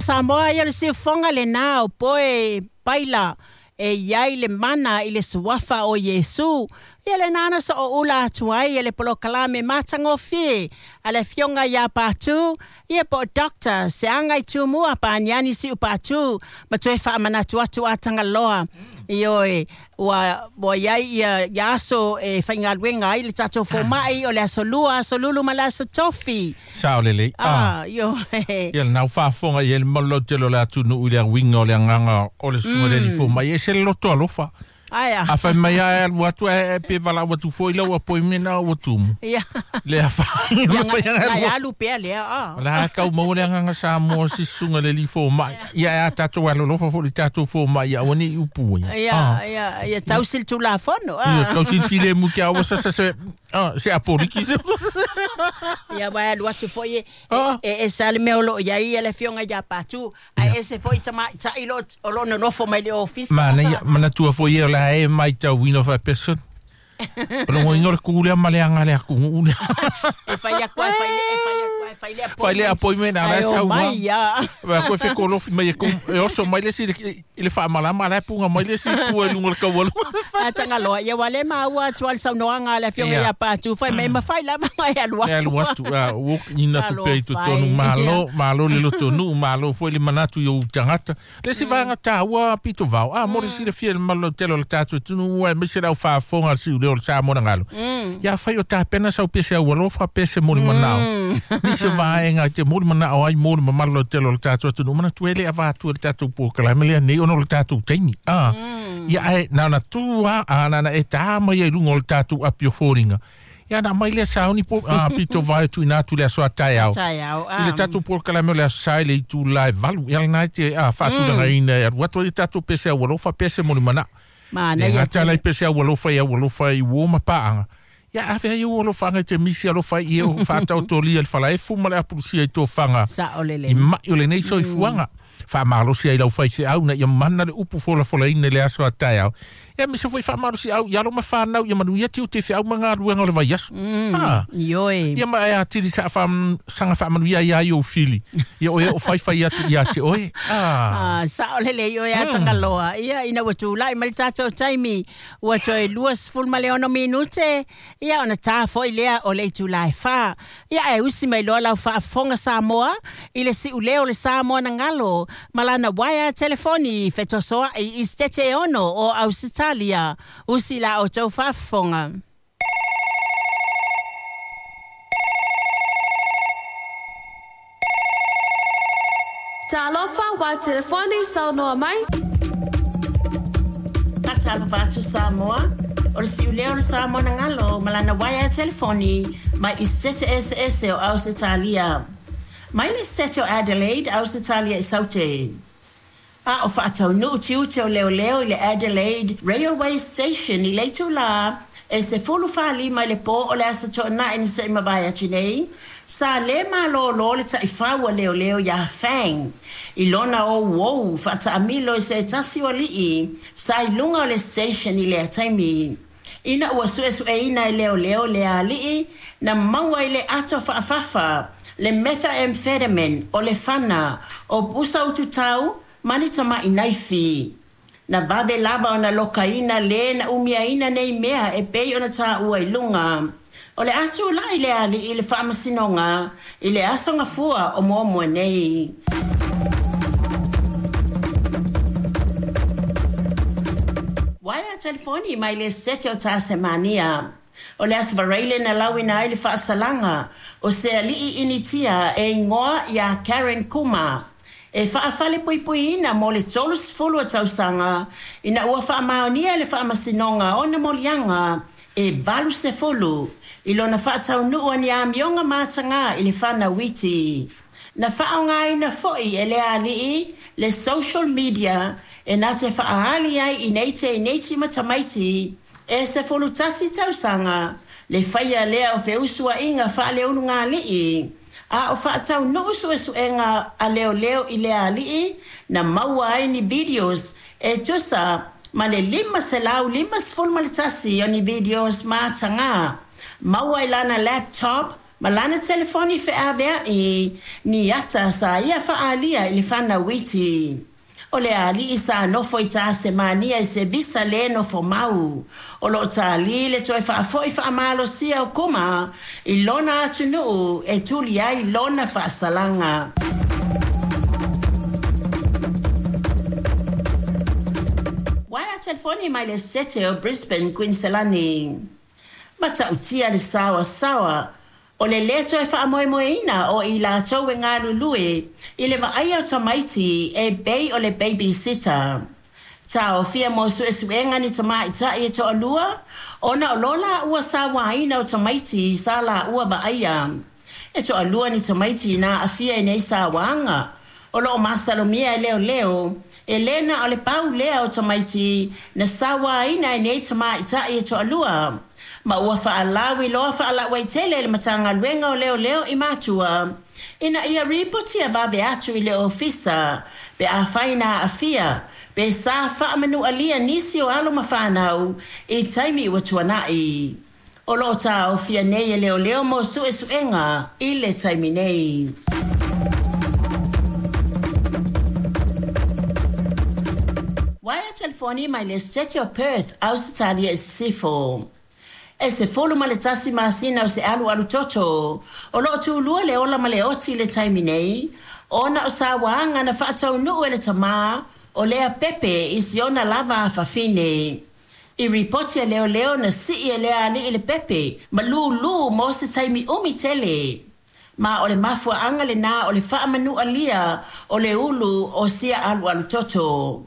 Samoa, ia o le siufofoga lenā o poe paila e i ai le mana i le suafa o Iesu. Ia lenā na sooula atu ai e le polokalame matagofie a le Afioga ia Patu, ia po o Doctor Seaga i Tumua Paniani Siu Patu, ma toe faamanatu atu a Tagaloa. Ioe, ua, ua i ai ia, ia aso e faigaluega ai le tatou fomai, o le aso Lua, aso Lulu ma le aso Tofi. Sao lelei. Ah, ioe. Ia lena ua faafofoga i ai le mamalu lautele o le atunuu i le auiga o le agaga o le susuga i le alii fomai. E ese le loto alofa. Ae a? A fai mai lava e alu atu ae pe valaau atu foi lau appointment a ua tumu. Ia. Le afaina Ia, mafai ona nai alu. alu pea lea, ah. O la e tau maua le agaga Samoa o si susuga i le alii fomai. Ia ae a tatou alolofa foi i le tatou fomai ia aua ne i upu ia. Ia, Ah. ia, ia tausi le Tulafono, Ia ah. tausi le filemu te aua sa sa se ah, se apoliki se. Ia, aua e alu atu foi e, Ah. e, e ese lava le mea o lo o i ai le Afioga ia Patu, ae ese foi tamaitai lo, o lo o nonofo mai le ofisa. Manaia, manatua foi ia o la e matauina faapea soni. O le uiga o le ku lea ma le aga le atunuu lea. E fai atu e fai le, e fai atu e fai le Fai le appointment a la e Ae o sau mai ia. Vai koe fekolofi mai e kou e oso mai le isi i le faamalama a la e puga mai le isi i tua i luga o le taualu. A Tagaloa, ia ua le maua atu a le saunoaga a le Afioga Ia. ia Patu, fai mai mafai lava ona e alu E alu atu. atu, a, ua ina atu pea i totonu, Talofa e. malo, malo le lotonuu, malo foi le manatu i ou tagata. Le isi vaega taua pito vao, a, mo le silafia i le mamalu lautele o le tatou atunuu, aemaise le au faafofoga a le siuleo o le Samoa na galo. Ia fai o tapena sau pese au alofa, pese mo le manao. Nisi o vaega e te mo le manao ai mo le mamalu lautele o le tatou atunuu, manatua e le avatua i le tatou polokalame lea nei ona o le tatou taimi. A, ia ae na ona tu lava, a na ona e tā mai ai i luga o le tatou api o foliga. Ia na aumai lea sauni po, a, pito vae tuuina atu i le aso a taeao. Taeao, I le tatou polokalame o le aso Sa i le itula e 8. Ia lena e te a, faatulagaina e alu atu ai le tatou pese aualofa, pese mo le manao. Manaia Le gata tele. la i pese aualofa i aualofa i uo ma paaga. Ia ave ai ou alofaga i te misi alofa i e o faataotolia i le falaefu ma le apulusia i tofaga Sao lelei. i mai o lenei soifuaga. Faamalosi ai lau faifeau ina ia mana le upu folafolaina i le aso a taeao. Ia aemaise foi faamalosi au i alo ma fanau ia manuia tiute feau ma galuega o le vaiaso. Ah. Ioe. Ia ma e atili sa wha, sanga whaamanuia ia ai ou fili. Ia oe o whaiwhai atu ia te oe. Ah. Ah, sao lelei oe a Tagaloa. Ia, ina ua tulai mai le tatou taimi, ua toe 26 minute, ia ona tā foi lea o le itula e 4. Ia, ae usi mai loa lau faafofoga Samoa i le siuleo o le Samoa na galo, ma lana waea telefoni fetosoa'i i Setete e ono o Ausitalia. Usi la outou faafofoga. Talofa wa telefoni saunoa mai. Faatalofa atu Samoa, o le siuleo o le Samoa na galo ma lana waea telefoni mai i Setete eseese o Ausitalia. Mai le Setete o Adelaide, Ausitalia i Saute. A o faataunuu tiute o leoleo i le Adelaide Railway Station i le itulā e 15 i le pō o le Aso Toonai na se i mavae atu nei, sa lē malōlō le taifau a leoleo iā Fang i lona ouou faataamilo i se tasi o alii sa i luga o le station i lea taimi. Ina ua suesueina e leoleo lea alii, na maua i le ato faafafa le methamphetamine o le fana o pusa ututau ma ni tama'i naifi. Na vave lava ona lokaina lē na umiaina nei mea e pei ona taua i luga. O le a tulai le alii i le faamasinoga i le aso gafua o muamua nei. Waea telefoni mai le Sete o Tasemania. O le Aso Faraile na lauina ai le faasalaga o se alii Initia e igoa iā Karen Kuma e faafalepuipuiina mo le 30 o tausaga ina ua faamaonia e le faamasinoga ona moliaga e 80 i lona faataunuu o ni amioga matagā i le fanau iti. Na faaaogaina foi e lea alii le social media e na te faaali ai i nei teineiti ma tamaiti e 11 tausaga le faia lea o feusuaiga faaleulugalii. A o faataunuu suesuega a leoleo i lea alii na maua ai ni videos e tusa ma le 551 o ni videos matagā maua i lana laptop ma lana telefoni feaveai ni ata sa ia faaalia i le fanau iti. O le ali'i sa nofo i Tasemania i se visa lē nofo mau. O loo tālī le toe faafo'i faamalosia o Kuma i lona atunuu e tuli ai lona faasalaga. Uaea telefoni mai le Setete o Brisbane, Kuiniselani. Matautia le saoasaoa o le lē toe faamoemoeina o i latou e galulue i le vaaia o tamaiti e pei o le babysitter. Taofia mo suesuega ni tamaita'i e toalua ona o lo laua sauāina o tamaiti sa laua vaaia. E toalua ni tamaiti na aafia i nei sauāga. O loo masalomia e leoleo e lē na o le pau lea o tamaiti na sauāina e nei tamaita'i e toalua. Ma ua faalauiloa faalauaitele e le Matagaluega o Leoleo i matua ina ia ripotia vave atu i le ofisa pe afai na aafia pe sa faamanualia nisi o alo ma fanau i taimi ua tuana'i. O loo taofia nei e leoleo mo suesuega i le taimi nei. Uaea telefoni mai le Setete o Perth, Ausetalia i Sisifo. E 11 masina o se alualu toto o loo tulua le ola ma le oti i le taimi nei ona o sauāga na faataunuu e le tamā o lea pepe i siona lava afafine. I ripoti a leoleo na sii e lea alii le pepe ma lūlū mo se taimi umi tele. Ma o le mafuaaga lenā o le faamanualia o le ulu o sia alualu toto.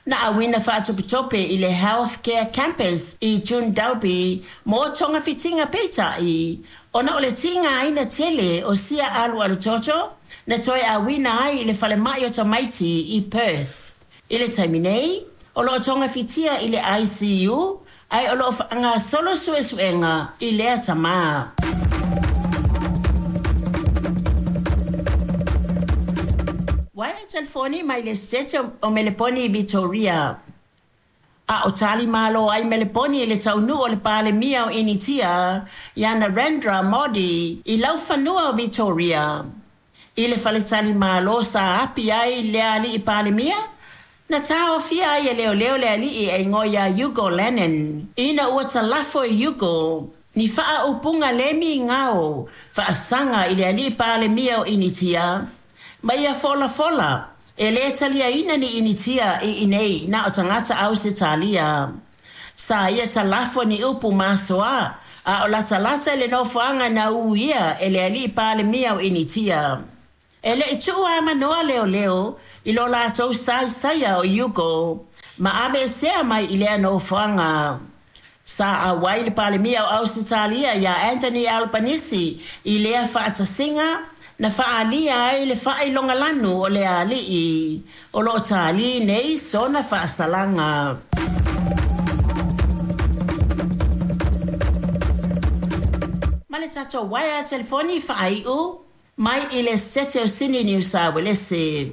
Na auina faatopetope i le Healthcare Campus i Jundalby mo togafitiga peitai ona o le tigaina tele o sia alualu toto na toe auina ai i le falema'i o tamaiti i Perth. I le taimi nei, o loo togafitia i le ICU ae o loo faagasolo suesuega i lea tamā. Uaea telefoni mai le Setete o Meleponi i Vitoria. A o tali malo ai Meleponi i le taunuu o le Palemia o Initia ia Narendra Modi i laufanua o Vitoria. I le faletalimalo sa api ai le ali'i Palemia, na taofia ai e leoleo le ali'i e igoa ia Hugo Lennon. Ina ua talafo e Hugo ni faaupuga lē migao faasaga i le ali'i Palemia o Initia ma ia folafola e lē taliaina ni Initia i inei na o tagata Ausetalia. Sa ia talafo ni upu masoā a o latalata i le nofoaga na uia e le ali'i Palemia o Initia. E le'i tuu amanoa leoleo i lo latou saisaia o Hugo ma aveesea mai i lea nofoaga. Sa auai le Palemia o Ausetalia ia Anthony Albanese i lea faatasiga na faaalia ai le faailogalanu o le ali'i. O loo tālī nei sona faasalaga. Ma le tatou uaea telefoni faaiu mai i le Setete o Sini Niu Sa Uelese.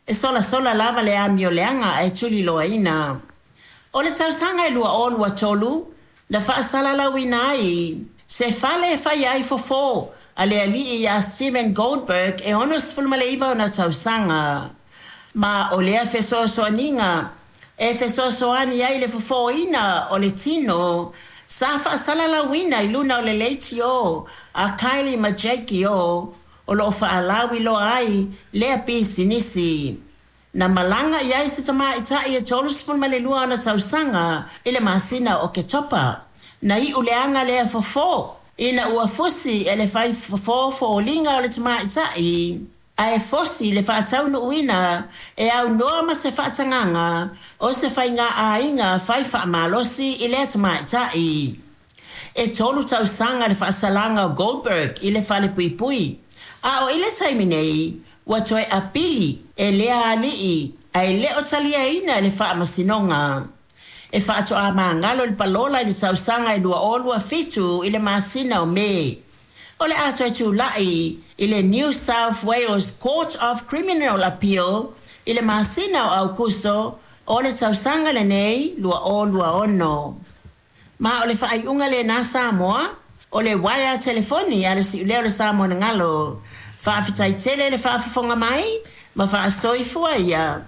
E solasola lava le amioleaga ae tuliloaina. O le tausaga e 2023 na faasalalauina ai se fale e faia ai fofo a le ali'i ia Steven Goldberg e 69 ona tausaga. Ma o lea fesoasoaniga e fesoasoani ai le fofoina o le tino sa faasalalauina i luna o le leitio a Kylie ma Jake O o loo faalauiloa ai lea pisinisi. Na malaga i ai se tamaita'i e 32 ona tausaga i le masina o Oketopa. Na iu leaga lea fofo ina ua fusi e le fai fofo foliga o le tamaita'i ae fosi le faataunuuina e aunoa ma se faatagaga o se faigāaiga fai faamalosi i lea tamaita'i. E 3 tausaga le faasalaga o Goldberg i le falepuipui. A o i le taimi nei, ua toe apili e lea ali'i ae le o taliaina e le faamasinoga. E faatoā magalo le palola i le tausaga e 2027 i le masina o Me. O le a toe tula'i i le New South Wales Court of Criminal Appeal i le masina o Aukuso o le tausaga lenei 2026. Ma o le faaiuga lenā Samoa. O le uaea telefoni a le Si'ulea o le Samoa na galo. Faafetai tele le faafofoga mai ma faasoifua ia.